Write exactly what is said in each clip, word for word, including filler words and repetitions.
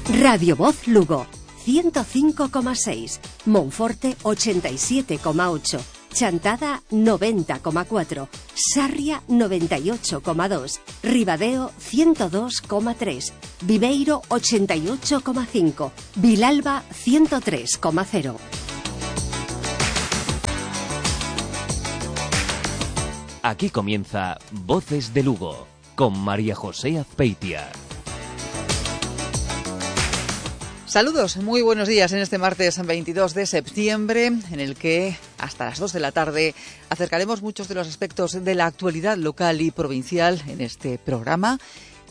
Radio Voz Lugo, ciento cinco coma seis, Monforte ochenta y siete coma ocho, Chantada noventa coma cuatro, Sarria noventa y ocho coma dos, Ribadeo ciento dos coma tres, Viveiro ochenta y ocho coma cinco, Vilalba ciento tres coma cero. Aquí comienza Voces de Lugo, con María José Azpeitia. Saludos, muy buenos días en este martes veintidós de septiembre, en el que hasta las dos de la tarde acercaremos muchos de los aspectos de la actualidad local y provincial en este programa,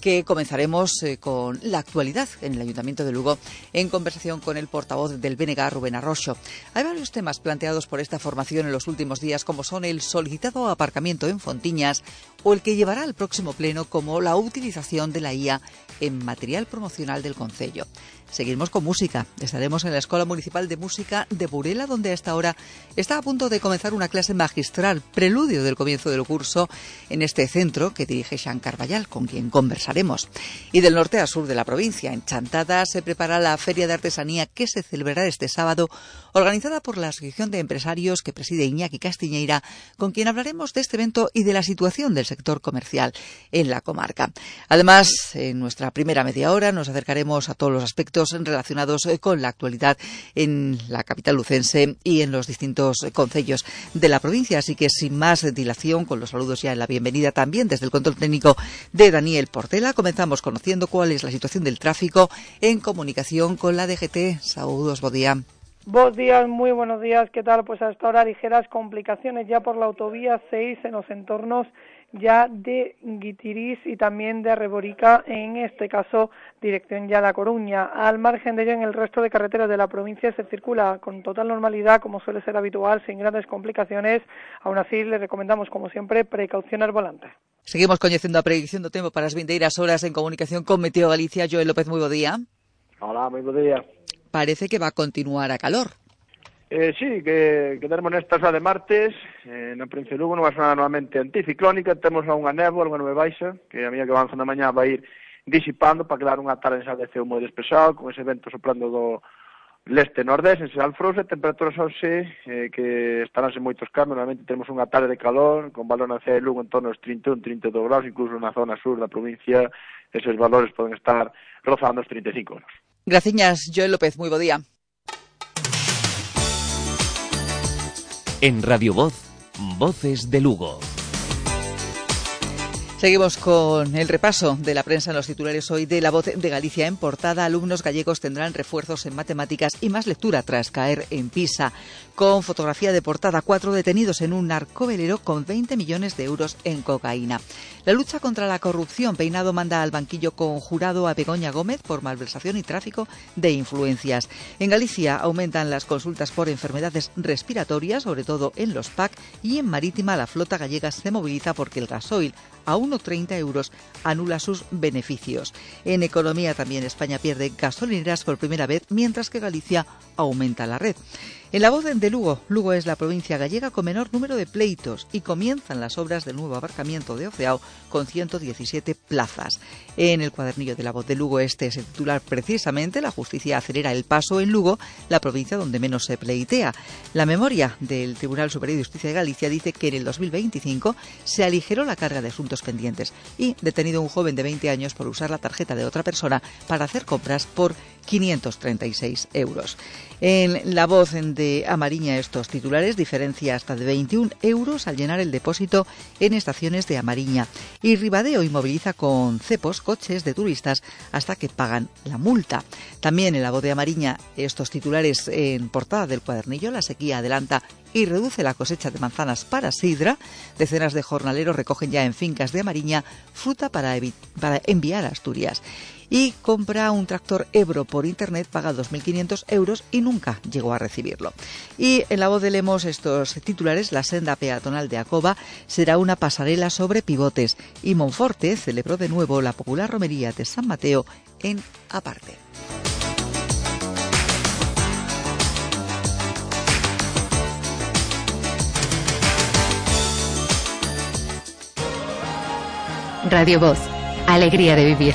que comenzaremos eh, con la actualidad en el Ayuntamiento de Lugo, en conversación con el portavoz del B N G, Rubén Arroxo. Hay varios temas planteados por esta formación en los últimos días, como son el solicitado aparcamiento en Fontiñas o el que llevará al próximo pleno, como la utilización de la I A en material promocional del concello. Seguimos con música. Estaremos en la Escuela Municipal de Música de Burela, donde a esta hora está a punto de comenzar una clase magistral, preludio del comienzo del curso, en este centro que dirige Xan Carballal, con quien conversaremos. Y del norte a sur de la provincia, en Chantada, se prepara la Feria de Artesanía que se celebrará este sábado, organizada por la Asociación de Empresarios que preside Iñaki Castiñeira, con quien hablaremos de este evento y de la situación del sector comercial en la comarca. Además, en nuestra primera media hora nos acercaremos a todos los aspectos relacionados con la actualidad en la capital lucense y en los distintos concellos de la provincia. Así que sin más dilación, con los saludos ya en la bienvenida también desde el control técnico de Daniel Portela, comenzamos conociendo cuál es la situación del tráfico en comunicación con la D G T. Saludos, buen día. Buenos días, muy buenos días. ¿Qué tal? Pues hasta ahora ligeras complicaciones ya por la autovía seis en los entornos ya de Guitirís y también de Reborica, en este caso dirección ya a La Coruña. Al margen de ello, en el resto de carreteras de la provincia se circula con total normalidad, como suele ser habitual, sin grandes complicaciones. Aún así, le recomendamos, como siempre, precaución al volante. Seguimos coñecendo a predicción do tempo para as vindeiras horas en comunicación con Meteo Galicia. Joel López, moi bo día. Hola, moi bo día. Parece que va a continuar a calor. Eh, sí, que, que tenemos nesta xa de martes, eh, na provincia de Lugo, nunha zona normalmente anticiclónica, temos unha néboa, unha nube baixa, que a medida que avanza na mañá vai ir disipando para quedar unha tarde xa de ceo moi despexado, con ese vento soprando do leste-nordés, en Alfrouse, temperaturas hoxe eh, que estaránse moitos cambios, normalmente temos unha tarde de calor, con valor na cidade de Lugo en torno aos trinta e un, trinta e dous graus, incluso na zona sur da provincia, esos valores poden estar rozando os trinta e cinco graus. Graciñas, Joel López, moi bo día. En Radio Voz, Voces de Lugo. Seguimos con el repaso de la prensa en los titulares hoy de La Voz de Galicia. En portada, alumnos gallegos tendrán refuerzos en matemáticas y más lectura tras caer en Pisa. Con fotografía de portada, cuatro detenidos en un narcovelero con veinte millones de euros en cocaína. La lucha contra la corrupción. Peinado manda al banquillo conjurado a Begoña Gómez por malversación y tráfico de influencias. En Galicia aumentan las consultas por enfermedades respiratorias, sobre todo en los P A C, y en Marítima la flota gallega se moviliza porque el gasoil a uno coma treinta euros anula sus beneficios. En economía también España pierde gasolineras por primera vez, mientras que Galicia aumenta la red. En La Voz de Lugo, Lugo es la provincia gallega con menor número de pleitos y comienzan las obras del nuevo aparcamiento de Oceao con ciento diecisiete plazas. En el cuadernillo de La Voz de Lugo este se titular precisamente: la justicia acelera el paso en Lugo, la provincia donde menos se pleitea. La memoria del Tribunal Superior de Justicia de Galicia dice que en el dos mil veinticinco se aligeró la carga de asuntos pendientes y detenido un joven de veinte años por usar la tarjeta de otra persona para hacer compras por quinientos treinta y seis euros. En La Voz de Amariña estos titulares: diferencia hasta de veintiún euros al llenar el depósito en estaciones de Amariña. Y Ribadeo inmoviliza con cepos coches de turistas hasta que pagan la multa. También en La Voz de Amariña estos titulares en portada del cuadernillo: la sequía adelanta y reduce la cosecha de manzanas para sidra. Decenas de jornaleros recogen ya en fincas de Amariña fruta para, para enviar a Asturias. Y compra un tractor Ebro por internet, paga dos mil quinientos euros y nunca llegó a recibirlo. Y en La Voz de Lemos estos titulares: la senda peatonal de Acoba será una pasarela sobre pivotes, y Monforte celebró de nuevo la popular romería de San Mateo en Aparte. Radio Voz, alegría de vivir.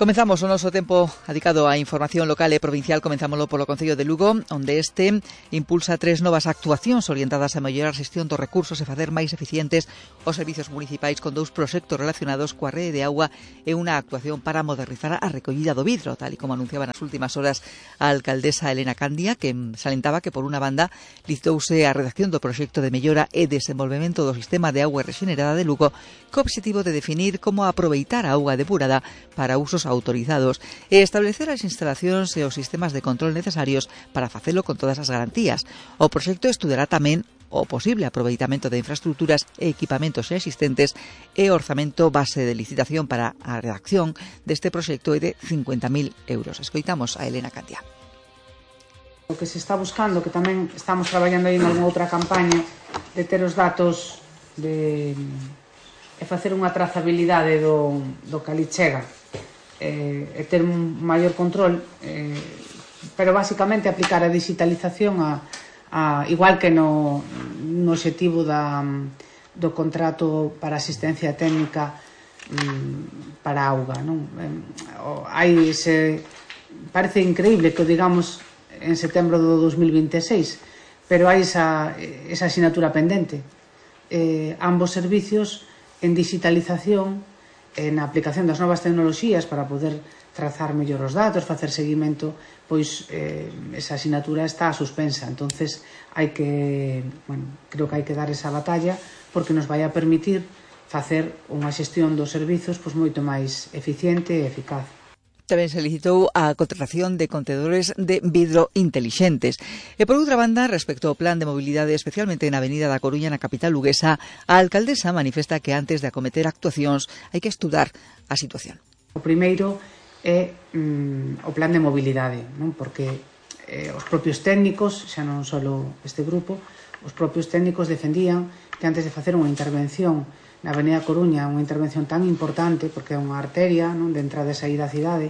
Comenzamos o noso tempo dedicado á información local e provincial. Comenzámoslo polo Concello de Lugo, onde este impulsa tres novas actuacións orientadas a mellorar a xestión dos recursos e facer máis eficientes os servizos municipais, con dous proxectos relacionados coa rede de auga e unha actuación para modernizar a recollida do vidro, tal e como anunciaba nas últimas horas a alcaldesa Elena Candia, que salentaba que por unha banda licitouse a redacción do proxecto de mellora e desenvolvemento do sistema de auga rexenerada de Lugo, co obxectivo de definir como aproveitar a auga depurada para usos autorizados e establecer as instalacións e os sistemas de control necesarios para facelo con todas as garantías. O proxecto estudará tamén o posible aproveitamento de infraestructuras e equipamentos existentes e o orzamento base de licitación para a redacción deste proxecto é de cincuenta mil euros. Escoitamos a Elena Candia. O que se está buscando, que tamén estamos traballando aí en algunha outra campaña, de ter os datos de, de facer unha trazabilidade do, do que ali chega e, e ter un maior control, eh, pero basicamente aplicar a digitalización a, a, igual que no, no objetivo da, do contrato para asistencia técnica mm, para auga, non? Eh, hai ese, parece increíble que o digamos en setembro do dos mil veintiséis, pero hai esa, esa asignatura pendente. Eh, ambos servicios en digitalización, en a aplicación das novas tecnoloxías para poder trazar mellor os datos, facer seguimento, pois eh, esa asignatura está suspensa. Entonces hai que, bueno, creo que hai que dar esa batalla porque nos vai a permitir facer unha xestión dos servizos pois moito máis eficiente e eficaz. Tamén se licitou a contratación de contedores de vidro intelixentes. E por outra banda, respecto ao plan de mobilidade, especialmente na Avenida da Coruña, na capital luguesa, a alcaldesa manifesta que antes de acometer actuacións hai que estudar a situación. O primeiro é mm, o plan de mobilidade, non? Porque eh, os propios técnicos, xa non só este grupo, os propios técnicos defendían que antes de facer unha intervención na Avenida Coruña, unha intervención tan importante, porque é unha arteria, non, de entrada e saída da cidade,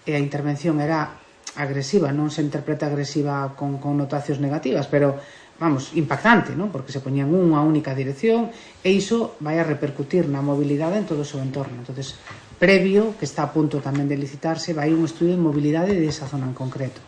e a intervención era agresiva, non se interpreta agresiva con connotacións negativas, pero, vamos, impactante, non? Porque se poñían unha única dirección, e iso vai a repercutir na mobilidade en todo o seu entorno. Entonces, previo, que está a punto tamén de licitarse, vai un estudio de mobilidade desa zona en concreto,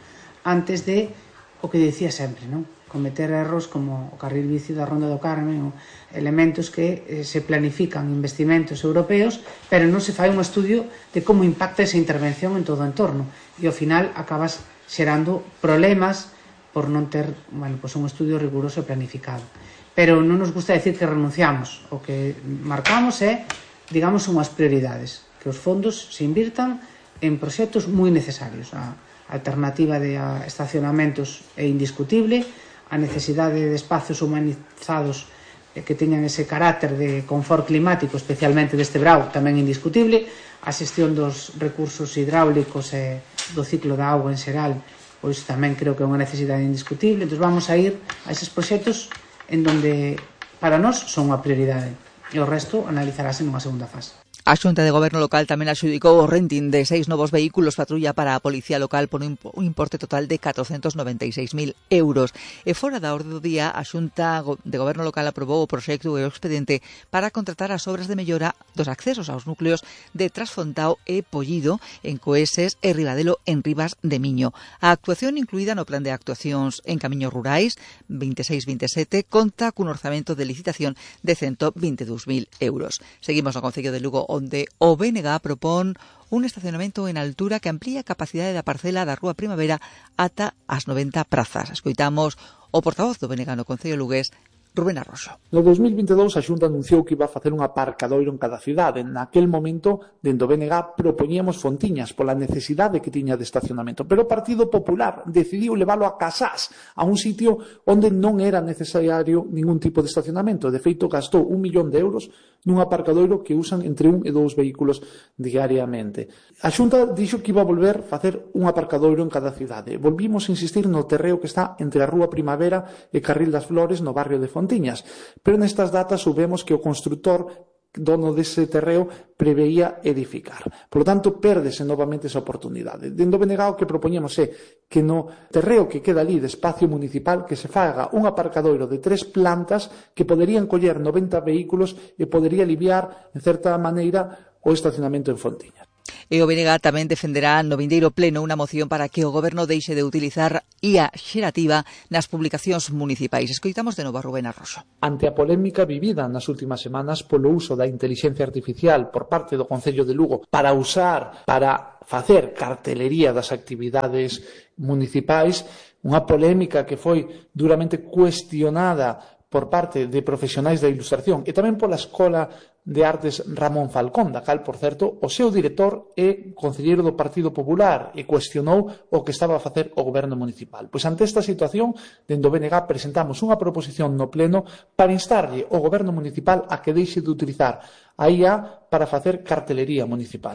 antes de o que dicía sempre, non? Cometer erros como o carril bici da Ronda do Carmen, ou elementos que eh, se planifican investimentos europeos, pero non se fai un estudio de como impacta esa intervención en todo o entorno, e ao final acabas xerando problemas por non ter, bueno, pues un estudio riguroso e planificado. Pero non nos gusta decir que renunciamos, o que marcamos é, digamos, unhas prioridades, que os fondos se invirtan en proxectos moi necesarios. A alternativa de estacionamentos é indiscutible, a necesidade de espacios humanizados que teñan ese carácter de confort climático, especialmente deste brao, tamén indiscutible, a xestión dos recursos hidráulicos e do ciclo da auga en xeral, pois tamén creo que é unha necesidade indiscutible. Entón vamos a ir a eses proxectos en donde para nós son unha prioridade e o resto analizarase nunha segunda fase. A Xunta de Goberno Local tamén adxudicou o renting de seis novos vehículos patrulla para a Policía Local por un importe total de catrocentos noventa e seis mil euros. E fora da orde do día, a Xunta de Goberno Local aprobou o proxecto e o expediente para contratar as obras de mellora dos accesos aos núcleos de Trasfontao e Pollido en Coeses e Ribadelo en Ribas de Miño. A actuación incluída no plan de actuacións en camiños rurais veintiséis veintisiete conta cun orzamento de licitación de ciento vinte e dous mil euros. Seguimos no Concello de Lugo, onde o B N G propón un estacionamento en altura que amplía a capacidade da parcela da Rúa Primavera ata as noventa prazas. Escoitamos o portavoz do B N G no Concello lugués, Rubén Arroxo. No dos mil vinte e dous a Xunta anunciou que iba a facer un aparcadoiro en cada cidade. Naquel momento, dentro do B N G, propoñíamos Fontiñas pola necesidade que tiña de estacionamento. Pero o Partido Popular decidiu leválo a Casás, a un sitio onde non era necesario ningún tipo de estacionamento. De feito, gastou un millón de euros nun aparcadoiro que usan entre un e dous vehículos diariamente. A Xunta dixo que iba a volver a facer un aparcadoiro en cada cidade. Volvimos a insistir no terreo que está entre a Rúa Primavera e Carril das Flores, no barrio de Fontiñas. Pero nestas datas soubemos que o constructor dono dese terreo preveía edificar. Por lo tanto, pérdese novamente esa oportunidade. Dentro do B N G o que propoñemos é que no terreo que queda ali de espacio municipal que se faga un aparcadoiro de tres plantas que poderían coller noventa vehículos e podería aliviar, en certa maneira, o estacionamento en Fontiñas. E o B N G tamén defenderá no vindeiro pleno unha moción para que o Goberno deixe de utilizar I A xerativa nas publicacións municipais. Escoitamos de novo a Rubén Arroxo. Ante a polémica vivida nas últimas semanas polo uso da inteligencia artificial por parte do Concello de Lugo para usar, para facer cartelería das actividades municipais, unha polémica que foi duramente cuestionada por parte de profesionais da ilustración e tamén pola Escola de Artes Ramón Falcón, da cal, por certo, o seu director é concelleiro do Partido Popular e cuestionou o que estaba a facer o goberno municipal. Pois ante esta situación, dende o B N G presentamos unha proposición no pleno para instarlle o goberno municipal a que deixe de utilizar a I A para facer cartelería municipal.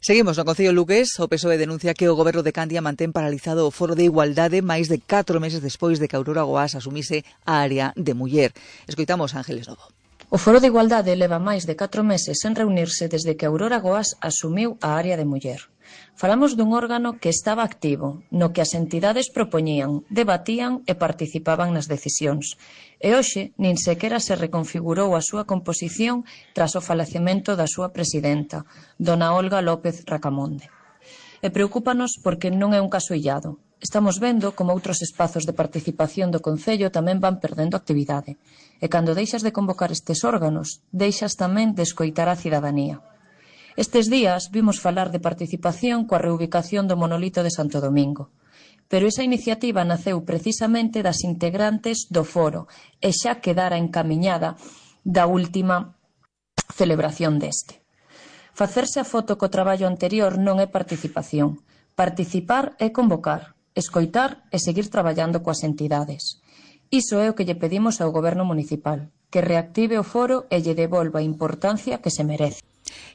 Seguimos no Concello lugués. O P S O E denuncia que o Goberno de Candia mantén paralizado o Foro de Igualdade máis de catro meses despois de que Aurora Goás asumise a área de muller. Escoitamos a Ángeles Novo. O Foro de Igualdade leva máis de catro meses sen reunirse desde que Aurora Goás asumiu a área de muller. Falamos dun órgano que estaba activo, no que as entidades propoñían, debatían e participaban nas decisións. E hoxe nin sequera se reconfigurou a súa composición tras o falecemento da súa presidenta, dona Olga López Racamonde. E preocúpanos porque non é un caso illado. Estamos vendo como outros espazos de participación do Concello tamén van perdendo actividade. E cando deixas de convocar estes órganos, deixas tamén de escoitar a cidadanía. Estes días vimos falar de participación coa reubicación do monolito de Santo Domingo. Pero esa iniciativa naceu precisamente das integrantes do foro e xa quedara encamiñada da última celebración deste. Facerse a foto co traballo anterior non é participación. Participar é convocar, escoitar e seguir traballando coas entidades. Iso é o que lle pedimos ao Goberno municipal, que reactive o foro e lle devolva a importancia que se merece.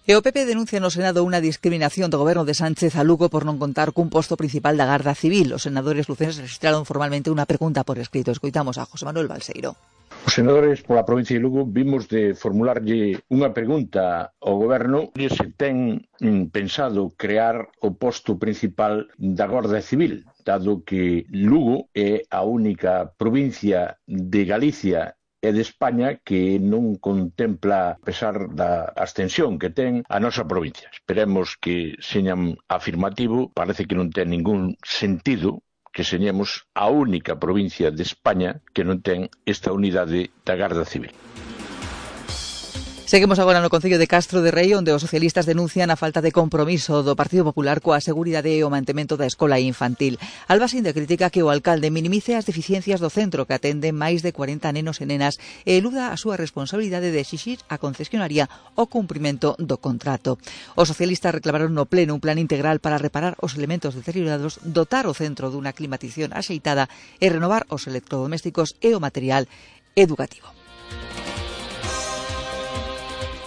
E o P P denuncia no Senado unha discriminación do Goberno de Sánchez a Lugo por non contar cun posto principal da Garda Civil. Os senadores lucenses registraron formalmente unha pregunta por escrito. Escoitamos a José Manuel Balseiro. Os senadores pola provincia de Lugo vimos de formularlle unha pregunta ao Goberno se ten pensado crear o posto principal da Garda Civil, dado que Lugo é a única provincia de Galicia e de España que non contempla, a pesar da extensión que ten, a nosa provincia. Esperemos que señan afirmativo, parece que non ten ningún sentido que señemos a única provincia de España que non ten esta unidade da Garda Civil. Seguimos agora no Concello de Castro de Rei, onde os socialistas denuncian a falta de compromiso do Partido Popular coa seguridade e o mantemento da escola infantil. Alba Sinde critica que o alcalde minimice as deficiencias do centro que atende máis de cuarenta nenos e nenas e eluda a súa responsabilidade de exixir a concesionaria o cumprimento do contrato. Os socialistas reclamaron no pleno un plan integral para reparar os elementos deteriorados, dotar o centro dunha climatización axeitada e renovar os electrodomésticos e o material educativo.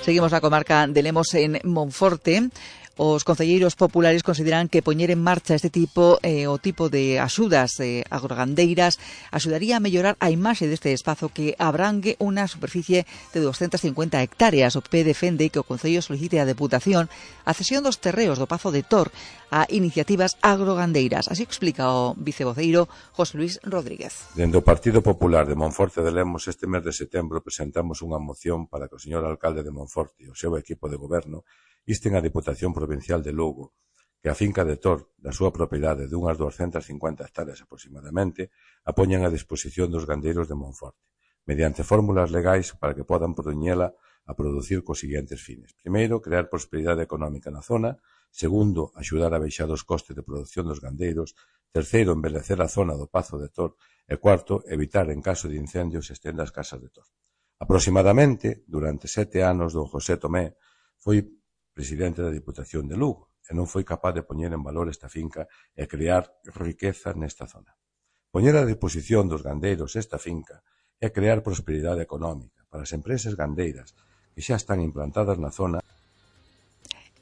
Seguimos na comarca de Lemos en Monforte. Os concelleiros populares consideran que poñer en marcha este tipo eh, o tipo de axudas eh, agrogandeiras axudaría a mellorar a imaxe deste espazo que abrangue unha superficie de doscientas cincuenta hectáreas. O P P defende que o Concello solicite a Deputación a cesión dos terreos do Pazo de Tor a iniciativas agrogandeiras. Así explica o vicevoceiro José Luis Rodríguez. Dende o Partido Popular de Monforte de Lemos este mes de setembro presentamos unha moción para que o señor alcalde de Monforte e o seu equipo de goberno insten a Diputación Provincial de Lugo que a finca de Tor, da súa propiedade de unhas doscientas cincuenta hectáreas aproximadamente, a poñan a disposición dos gandeiros de Monforte, mediante fórmulas legais para que podan poñela a producir cos seguintes fines. Primeiro, crear prosperidade económica na zona. Segundo, axudar a baixar os costes de produción dos gandeiros. Terceiro, embelecer a zona do Pazo de Tor. E cuarto, evitar en caso de incendios se estenda as casas de Tor. Aproximadamente, durante sete anos, don José Tomé foi presidente da Diputación de Lugo e non foi capaz de poñer en valor esta finca e crear riqueza nesta zona. Poñer a disposición dos gandeiros esta finca é crear prosperidade económica para as empresas gandeiras que xa están implantadas na zona.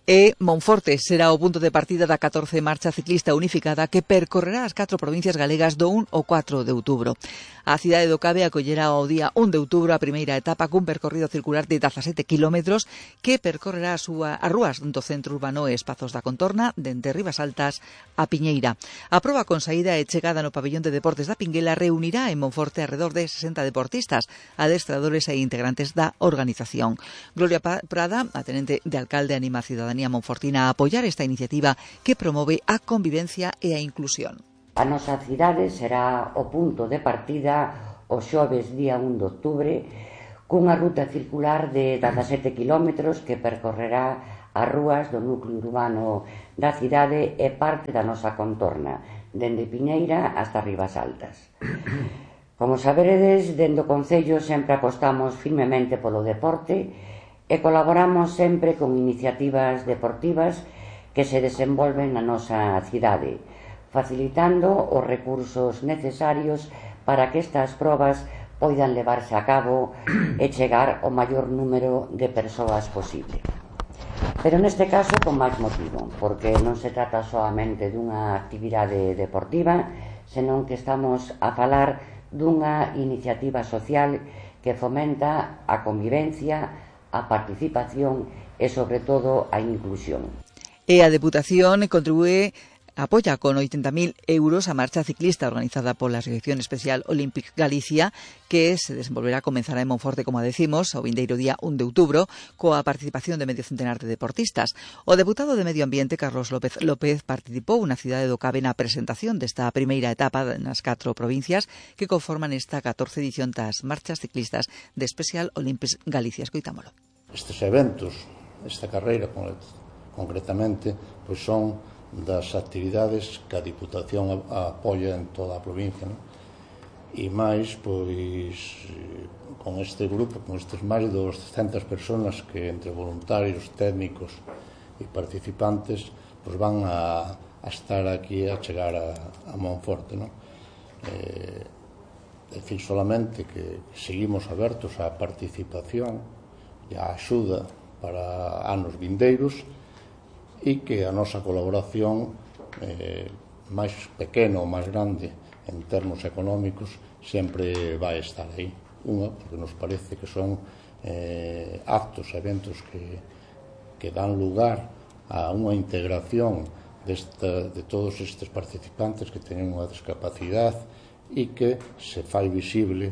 E Monforte será o punto de partida da catorce marcha ciclista unificada que percorrerá as catro provincias galegas do un ao catro de outubro. A cidade do Cabe acollerá ao día un de outubro a primeira etapa cun percorrido circular de dezasete kilómetros que percorrerá a súa, as rúas do centro urbano e espazos da contorna dende Ribas Altas a Piñeira. A proba con saída e chegada no pabellón de deportes da Pinguela reunirá en Monforte alrededor de sesenta deportistas, adestradores e integrantes da organización. Gloria Prada, a tenente de alcalde Anima Ciudadana cidadanía monfortina a apoiar esta iniciativa que promove a convivencia e a inclusión. A nosa cidade será o punto de partida o xoves día un de outubro cunha ruta circular de dezasete quilómetros que percorrerá as rúas do núcleo urbano da cidade e parte da nosa contorna, dende Piñeira hasta Ribas Altas. Como saberedes, dende o Concello sempre apostamos firmemente polo deporte e colaboramos sempre con iniciativas deportivas que se desenvolven na nosa cidade, facilitando os recursos necesarios para que estas probas poidan levarse a cabo e chegar ao maior número de persoas posible. Pero neste caso con máis motivo, porque non se trata solamente dunha actividade deportiva, senón que estamos a falar dunha iniciativa social que fomenta a convivencia, a participación e, sobre todo, a inclusión. E a Deputación contribúe, apoia con oitenta mil euros a marcha ciclista organizada pola Asociación Especial Olympic Galicia, que se desenvolverá, comenzará en Monforte, como decimos, o vindeiro día un de outubro, coa participación de medio centenar de deportistas. O deputado de Medio Ambiente, Carlos López López, participou na cidade do Cabe na presentación desta primeira etapa nas catro provincias que conforman esta catorce edición das marchas ciclistas de Special Olympics Galicia. Escoitámolo. Estes eventos, esta carreira concretamente, pois son das actividades que a Diputación apoia en toda a provincia, non? E máis, pois, con este grupo, con estes máis de doscientas persoas que entre voluntarios, técnicos e participantes, pois van a, a estar aquí a chegar a, a Monforte, non? Eh, decir solamente que seguimos abertos á participación e á axuda para anos vindeiros, e que a nosa colaboración eh, máis pequena ou máis grande en termos económicos sempre vai estar aí. Unha, porque nos parece que son eh, actos, eventos que, que dan lugar a unha integración desta, de todos estes participantes que teñen unha discapacidade e que se fai visible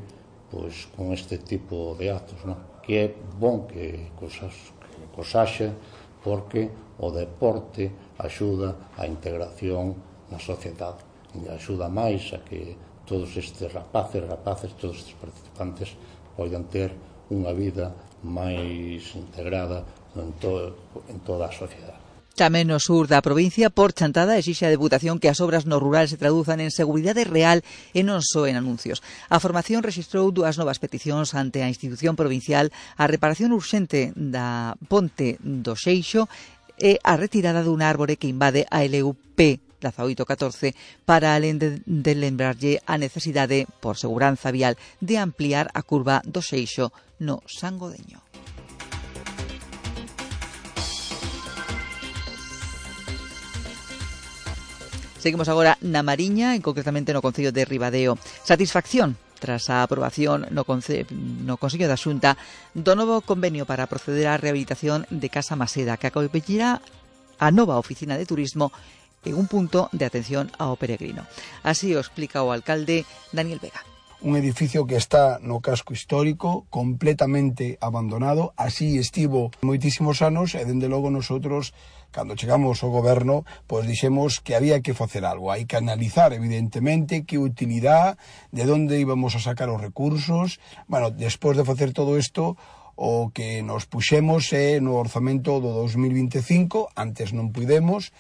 pois, con este tipo de actos, non? Que é bon que cosas, que cosaxe, porque o deporte axuda á integración na sociedade e axuda máis a que todos estes rapaces, rapaces, todos estes participantes poidan ter unha vida máis integrada en, to, en toda a sociedade. Tamén no sur da provincia, por Chantada, exixe a Deputación que as obras no rural se traduzan en seguridade real e non só en anuncios. A formación rexistrou dúas novas peticións ante a institución provincial, a reparación urxente da ponte do Xeixo e a retirada dun árbore que invade a L U P dezaoito catorce para alén de, de lembrarlle a necesidade, por seguranza vial, de ampliar a curva do Xeixo no Sangodeño. Seguimos agora na Mariña, e concretamente no Concello de Ribadeo. Satisfacción tras a aprobación no, Conce no Consello da Xunta do novo convenio para proceder á rehabilitación de Casa Maseda, que acollirá a nova oficina de turismo en un punto de atención ao peregrino. Así o explica o alcalde Daniel Vega. Un edificio que está no casco histórico, completamente abandonado, así estivo moitísimos anos, e dende logo nosotros, cando chegamos ao goberno, pois dixemos que había que facer algo. Hai que analizar, evidentemente, que utilidade, de onde íbamos a sacar os recursos. Bueno, despois de facer todo isto, o que nos puxemos é no orzamento do dos mil vinte e cinco, antes non pudemos,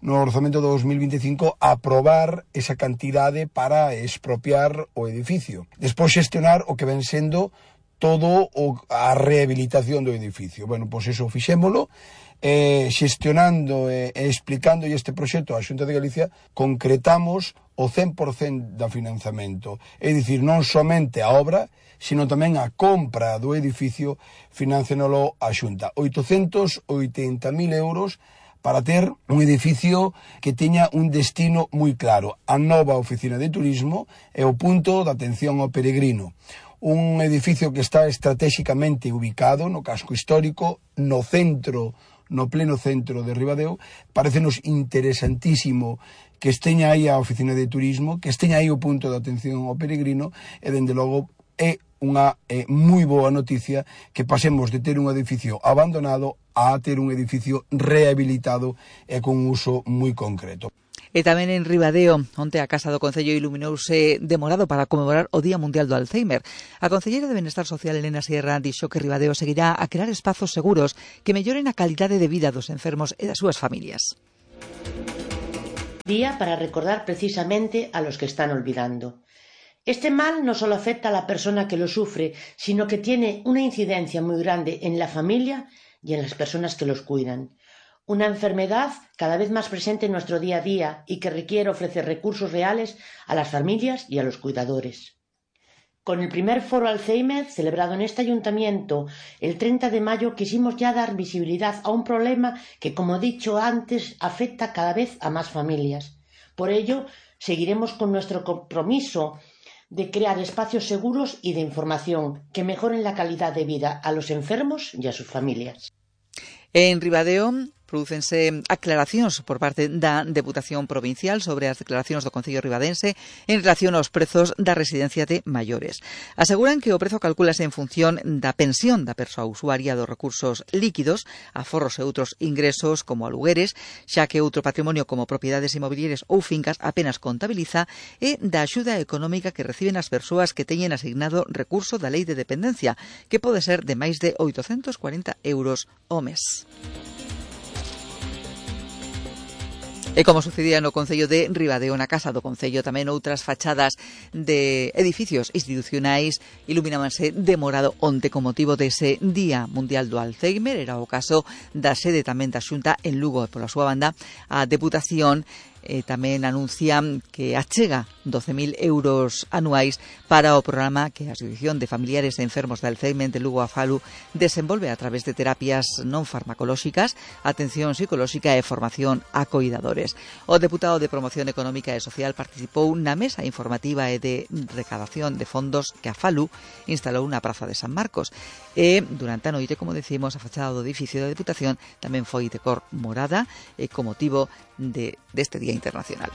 no orzamento do dos mil vinte e cinco aprobar esa cantidade para expropiar o edificio. Despois xestionar o que ven sendo todo o, a rehabilitación do edificio. Bueno, pois eso fixémolo, eh, xestionando e eh, explicando este proxecto á Xunta de Galicia, concretamos o cen por cento da financiamento. É dicir, non somente a obra, sino tamén a compra do edificio, financiánolo a Xunta. oitocentos e oitenta mil euros para ter un edificio que teña un destino moi claro. A nova oficina de turismo é o punto de atención ao peregrino. Un edificio que está estratégicamente ubicado no casco histórico, no centro, no pleno centro de Ribadeo. Parécenos interesantísimo que esteña aí a oficina de turismo, que esteña aí o punto de atención ao peregrino, e dende logo é unha eh, moi boa noticia que pasemos de ter un edificio abandonado a ter un edificio rehabilitado e con un uso moi concreto. E tamén en Ribadeo, onte a Casa do Concello iluminouse de morado para conmemorar o Día Mundial do Alzheimer. A Concelleira de Benestar Social, Elena Sierra, dixo que Ribadeo seguirá a crear espazos seguros que melloren a calidade de vida dos enfermos e das súas familias. Día para recordar precisamente a los que están olvidando. Este mal no solo afecta a la persona que lo sufre, sino que tiene una incidencia muy grande en la familia y en las personas que los cuidan. Una enfermedad cada vez más presente en nuestro día a día y que requiere ofrecer recursos reales a las familias y a los cuidadores. Con el primer foro Alzheimer, celebrado en este ayuntamiento el treinta de mayo, quisimos ya dar visibilidad a un problema que, como he dicho antes, afecta cada vez a más familias. Por ello, seguiremos con nuestro compromiso de crear espacios seguros y de información que mejoren la calidad de vida a los enfermos y a sus familias. En Ribadeo prodúcense aclaracións por parte da Deputación Provincial sobre as declaracións do Concello Ribadense en relación aos prezos da residencia de maiores. Aseguran que o prezo calcúlase en función da pensión da persoa usuaria dos recursos líquidos, aforros e outros ingresos como alugueres, xa que outro patrimonio como propiedades inmobiliarias ou fincas apenas contabiliza, e da axuda económica que reciben as persoas que teñen asignado recurso da Lei de Dependencia, que pode ser de máis de oitocentos cuarenta euros ao mes. E como sucedía no Concello de Ribadeo, na Casa do Concello, tamén outras fachadas de edificios institucionais iluminábanse de morado onte con motivo dese Día Mundial do Alzheimer. Era o caso da sede tamén da Xunta en Lugo, e pola súa banda a Deputación eh, tamén anuncia que achega doce mil euros anuais para o programa que a Asociación de Familiares e Enfermos de Alzheimer de Lugo Afalu desenvolve a través de terapias non farmacolóxicas, atención psicolóxica e formación a coidadores. O deputado de Promoción Económica e Social participou na mesa informativa e de recadación de fondos que a Afalu instalou na Praza de San Marcos. E durante a noite, como decimos, a fachada do edificio da Deputación tamén foi de cor morada e con motivo de, deste Día Internacional.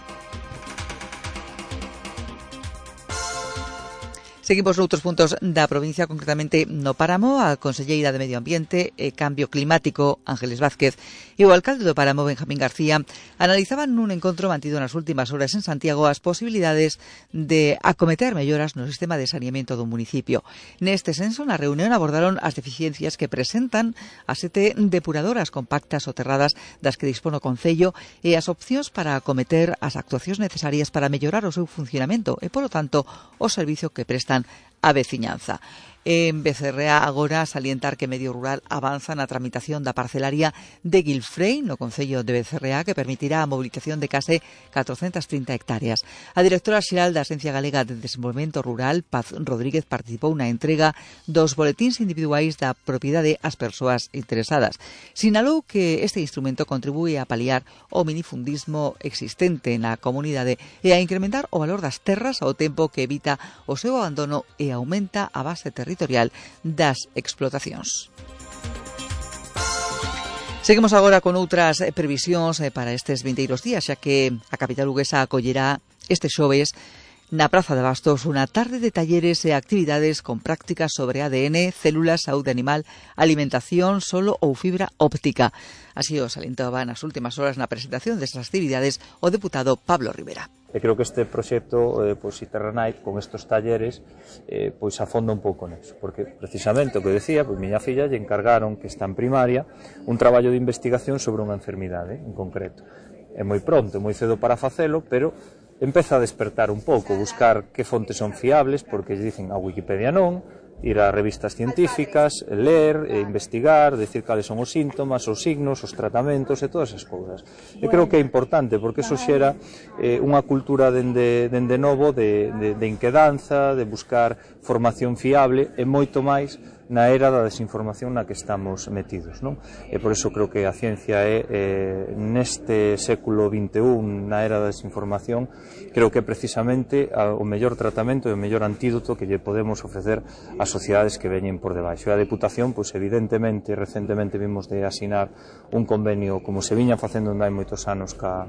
Seguimos noutros puntos da provincia, concretamente no Páramo. A conselleira de Medio Ambiente e Cambio Climático, Ángeles Vázquez, e o alcalde do Páramo, Benjamín García, analizaban nun encontro mantido nas últimas horas en Santiago as posibilidades de acometer melloras no sistema de saneamento do municipio. Neste senso, na reunión abordaron as deficiencias que presentan as sete depuradoras compactas soterradas das que dispón o Concello e as opcións para acometer as actuacións necesarias para mellorar o seu funcionamento e, polo tanto, o servicio que prestan a veciñanza. En Becerrea agora salientar que Medio Rural avanza na tramitación da parcelaria de Guilfrey no Concello de Becerrea, que permitirá a mobilización de case catrocentas trinta hectáreas. A directora xeral da Axencia Galega de Desenvolvemento Rural, Paz Rodríguez, participou na entrega dos boletíns individuais da propiedade ás persoas interesadas. Sinalou que este instrumento contribúe a paliar o minifundismo existente na comunidade e a incrementar o valor das terras ao tempo que evita o seu abandono e aumenta a base territorial das explotacións. Seguimos agora con outras previsións para estes vindeiros días, xa que a capital luguesa acollerá este xoves na Praza de Bastos unha tarde de talleres e actividades con prácticas sobre A D N, células, saúde animal, alimentación, solo ou fibra óptica. Así o salientaba nas últimas horas na presentación destas actividades o deputado Pablo Rivera. E creo que este proxecto, eh, pois, Iterranite, con estos talleres, eh, pois afonda un pouco neso, porque precisamente o que decía, pois miña filla lle encargaron, que está en primaria, un traballo de investigación sobre unha enfermidade en concreto. É moi pronto, é moi cedo para facelo, pero empeza a despertar un pouco, buscar que fontes son fiables, porque lle dicen a Wikipedia non, ir a revistas científicas, ler, e investigar, decir cales son os síntomas, os signos, os tratamentos e todas esas cousas. E creo que é importante, porque eso xera eh, unha cultura dende, dende novo de, de, de inquedanza, de buscar formación fiable e moito máis na era da desinformación na que estamos metidos, non? E por iso creo que a ciencia é, eh, neste século vinte e un, na era da desinformación, creo que precisamente a, o mellor tratamento e o mellor antídoto que lle podemos ofrecer ás sociedades que veñen por debaixo. E a Deputación, pois evidentemente, recentemente vimos de asinar un convenio como se viña facendo onde hai moitos anos ca,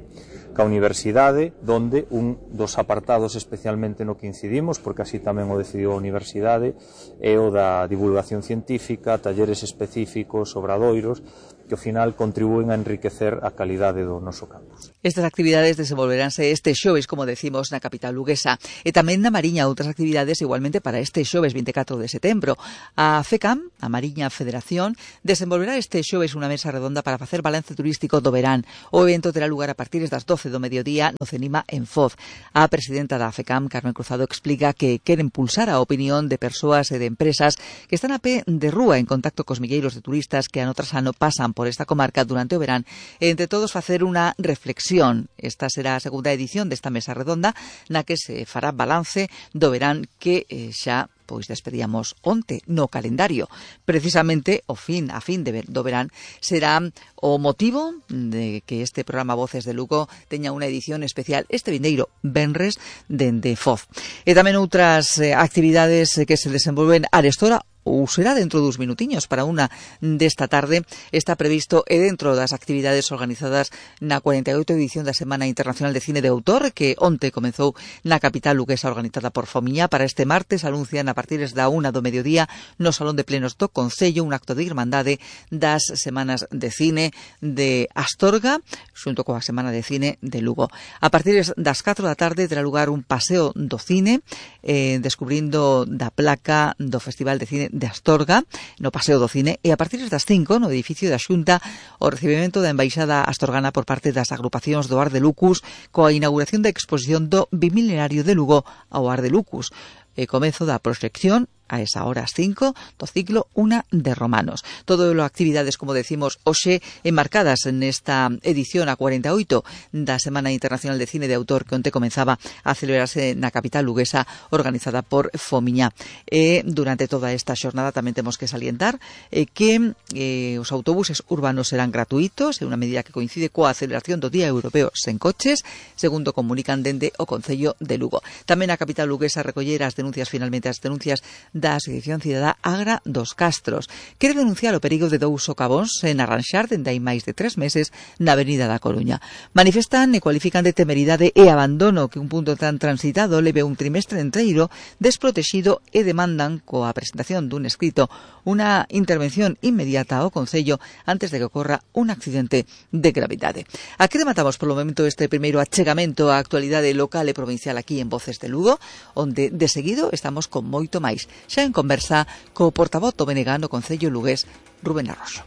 ca universidade, donde un dos apartados especialmente no que incidimos, porque así tamén o decidiu a universidade, é o da divulgación científica, talleres específicos, obradoiros, que ao final contribúen a enriquecer a calidade do noso campus. Estas actividades desenvolveránse este xoves, como decimos, na capital luguesa, e tamén na Mariña outras actividades igualmente para este xoves vinte e catro de setembro. A FECAM, a Mariña Federación, desenvolverá este xoves unha mesa redonda para facer balance turístico do verán. O evento terá lugar a partir das doce do mediodía no Cenima en Foz. A presidenta da FECAM, Carmen Cruzado, explica que quere impulsar a opinión de persoas e de empresas que están a pé de rúa en contacto cos milleiros de turistas que ano tras ano pasan por esta comarca durante o verán e entre todos facer unha reflexión. Esta será a segunda edición desta mesa redonda na que se fará balance do verán que eh, xa pois despedíamos onte no calendario. Precisamente o fin, a fin de ver, do verán será o motivo de que este programa Voces de Lugo teña unha edición especial este vindeiro venres dende Foz. E tamén outras eh, actividades que se desenvolven arestora ou será dentro dos minutiños para unha desta tarde, está previsto e dentro das actividades organizadas na cuarenta e oito edición da Semana Internacional de Cine de Autor, que onte comezou na capital luguesa organizada por Fomiña. Para este martes anuncian a partir da unha do mediodía no Salón de Plenos do Concello un acto de irmandade das Semanas de Cine de Astorga, xunto coa Semana de Cine de Lugo. A partir das catro da tarde terá lugar un paseo do cine, eh, descubrindo da placa do Festival de Cine de Astorga, no Paseo do Cine, e a partir das cinco, no edificio da Xunta, o recibimento da Embaixada Astorgana por parte das agrupacións do Ar de Lucus, coa inauguración da exposición do Bimilenario de Lugo ao Ar de Lucus, e comezo da proxección a esa hora as cinco do ciclo Una de Romanos. Todo as actividades, como decimos, hoxe enmarcadas nesta edición a cuarenta e oito da Semana Internacional de Cine de Autor que onte comenzaba a celebrarse na capital luguesa, organizada por Fomiña. E durante toda esta xornada tamén temos que salientar eh, que eh, os autobuses urbanos serán gratuitos, é unha medida que coincide coa celebración do Día Europeo sen coches, segundo comunican dende o Concello de Lugo. Tamén a capital luguesa recollera as denuncias, finalmente as denuncias da Asociación Cidadá Agra dos Castros. Quere denunciar o perigo de dous socavóns en arranxar dende hai máis de tres meses na Avenida da Coruña. Manifestan e cualifican de temeridade e abandono que un punto tan transitado leve un trimestre enteiro desprotexido e demandan, coa presentación dun escrito, unha intervención inmediata ao Concello antes de que ocorra un accidente de gravidade. Aquí rematamos polo momento este primeiro achegamento á actualidade local e provincial aquí en Voces de Lugo, onde de seguido estamos con moito máis. Xa en conversa co portavoz do B N G no Concello lugués, Rubén Arroxo.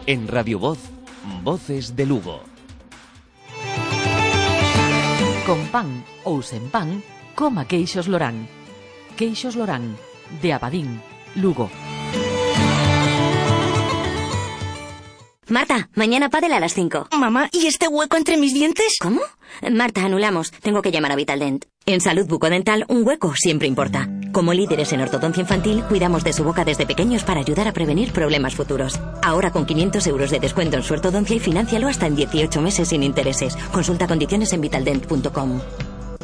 En Radio Voz, Voces de Lugo. Con pan ou sen pan, coma queixos Lorán. Queixos Lorán, de Abadín, Lugo. Marta, mañana pádel a las cinco. Mamá, ¿y este hueco entre mis dientes? ¿Cómo? Marta, anulamos. Tengo que llamar a Vitaldent. En salud bucodental, un hueco siempre importa. Como líderes en ortodoncia infantil, cuidamos de su boca desde pequeños para ayudar a prevenir problemas futuros. Ahora con quinientos euros de descuento en su ortodoncia y financialo hasta en dieciocho meses sin intereses. Consulta condiciones en vitaldent punto com.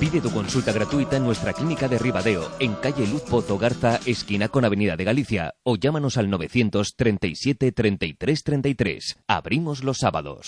Pide tu consulta gratuita en nuestra clínica de Ribadeo, en calle Luz Pozo Garza, esquina con Avenida de Galicia, o llámanos al novecientos treinta y siete treinta y tres treinta y tres. Abrimos los sábados.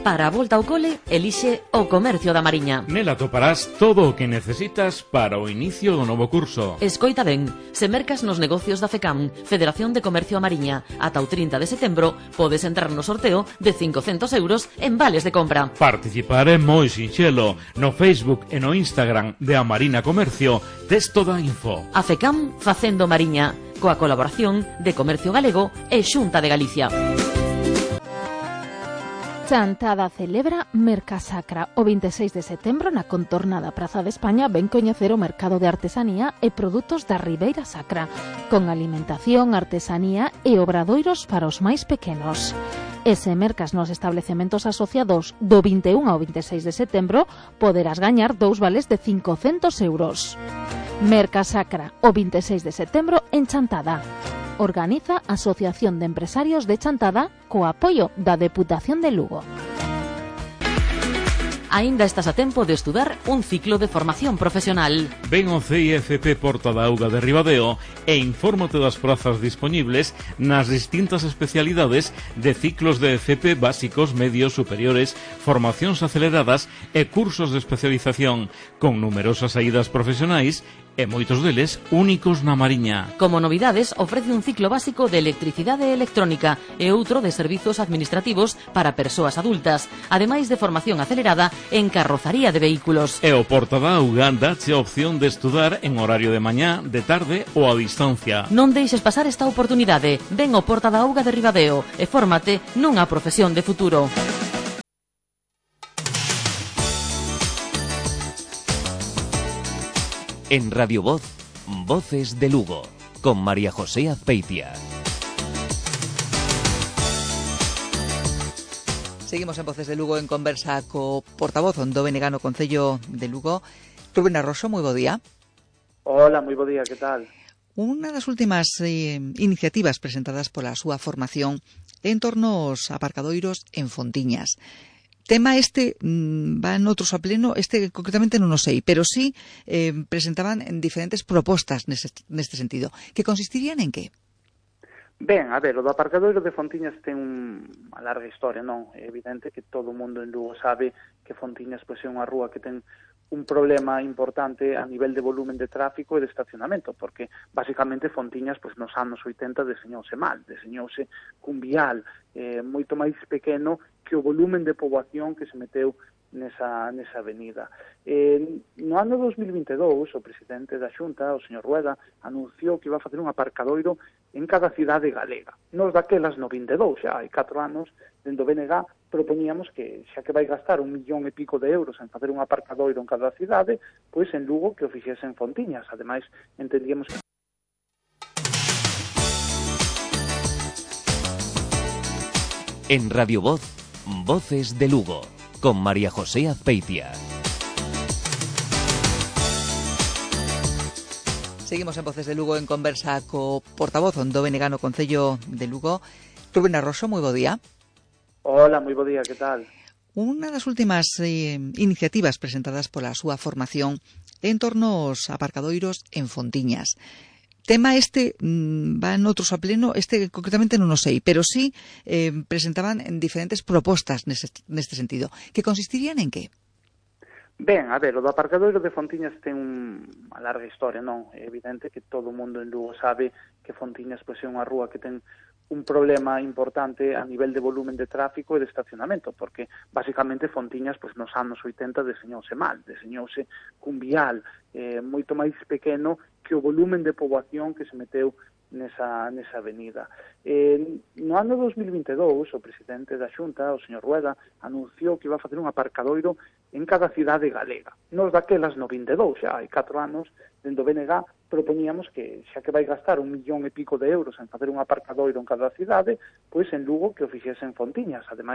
Para a volta ao cole, elixe o Comercio da Mariña. Nela toparás todo o que necesitas para o inicio do novo curso. Escoita ben, se mercas nos negocios da FECAM, Federación de Comercio a Mariña, ata o trinta de setembro, podes entrar no sorteo de cincocentos euros en vales de compra. Participar é moi sinxelo. No Facebook e no Instagram de A Marina Comercio tes toda a info. A FECAM facendo Mariña, coa colaboración de Comercio Galego e Xunta de Galicia. Chantada celebra Mercasacra. O vinte e seis de setembro na contorna da Praza de España ven coñecer o mercado de artesanía e produtos da Ribeira Sacra, con alimentación, artesanía e obradoiros para os máis pequenos. E se mercas nos establecementos asociados do vinte e un ao vinte e seis de setembro, poderás gañar dous vales de cincocentos euros. Mercasacra, o veintiséis de setembro en Chantada. Organiza a Asociación de Empresarios de Chantada co apoio da Deputación de Lugo. Aínda estás a tempo de estudar un ciclo de formación profesional. Ven ao C I F P Porta da Auga de Ribadeo e infórmate das prazas dispoñibles nas distintas especialidades de ciclos de F P básicos, medios, superiores, formacións aceleradas e cursos de especialización, con numerosas saídas profesionais e moitos deles únicos na Mariña. Como novidades, ofrece un ciclo básico de electricidade electrónica e outro de servizos administrativos para persoas adultas, ademais de formación acelerada en carrozaría de vehículos. E o Porta da Auga dache a opción de estudar en horario de mañá, de tarde ou a distancia. Non deixes pasar esta oportunidade. Ven ao Porta da Auga de Ribadeo e fórmate nunha profesión de futuro. En Radio Voz, Voces de Lugo, con María José Azpeitia. Seguimos en Voces de Lugo en conversa co portavoz do B N G no Concello de Lugo, Rubén Arroxo, moi bo día. Hola, moi bo día, que tal? Unha das últimas eh, iniciativas presentadas pola súa formación en torno aos aparcadoiros en Fontiñas. Tema este mmm, va en outros a pleno, este concretamente non o sei, pero sí eh, presentaban en diferentes propostas neste, neste sentido, que consistirían en que? Ben, a ver, o do aparcadoiro de Fontiñas ten unha larga historia, non? É evidente que todo o mundo en Lugo sabe que Fontiñas pois, é unha rúa que ten un problema importante a nivel de volumen de tráfico e de estacionamento, porque basicamente Fontiñas pois, nos anos oitenta deseñouse mal, deseñouse cun vial eh, moito máis pequeno que o volumen de poboación que se meteu nesa, nesa avenida. Eh, no ano dos mil vinte e dous, o presidente da Xunta, o señor Rueda, anunciou que iba a facer un aparcadoiro en cada cidade galega. Nos daquelas no vinte e dous, xa hai catro anos, dentro do B N G, propoñíamos que, xa que vai gastar un millón e pico de euros en facer un aparcadoiro en cada cidade, pois en Lugo que o fixese en Fontiñas. Ademais, entendíamos que en Radio Voz, Voces de Lugo, con María José Azpeitia. Seguimos en Voces de Lugo en conversa co portavoz do B N G no Concello de Lugo, Rubén Arroxo, moi bo día. Hola, moi bo día, que tal? Unha das últimas eh, iniciativas presentadas pola súa formación en torno aos aparcadoiros en Fontiñas. Tema este mmm, va en outros a pleno, este concretamente non o sei, pero sí eh, presentaban en diferentes propostas neste, neste sentido, que consistirían en que? Ben, a ver, o do aparcadoiro de Fontiñas ten unha larga historia, non? É evidente que todo o mundo en Lugo sabe que Fontiñas pois, é unha rúa que ten un problema importante a nivel de volumen de tráfico e de estacionamento, porque basicamente Fontiñas pois, nos anos oitenta deseñouse mal, deseñouse cun vial eh, moito máis pequeno que o volumen de poboación que se meteu nesa, nesa avenida. Eh, no ano dos mil vinte e dous, o presidente da Xunta, o señor Rueda, anunciou que iba a facer un aparcadoiro en cada cidade galega. Nos daquelas no vinte e dous, xa hai catro anos, dentro do B N G, propoñíamos que, xa que vai gastar un millón e pico de euros en facer un aparcadoiro en cada cidade, pois en Lugo que o fixese en Fontiñas. Ademais,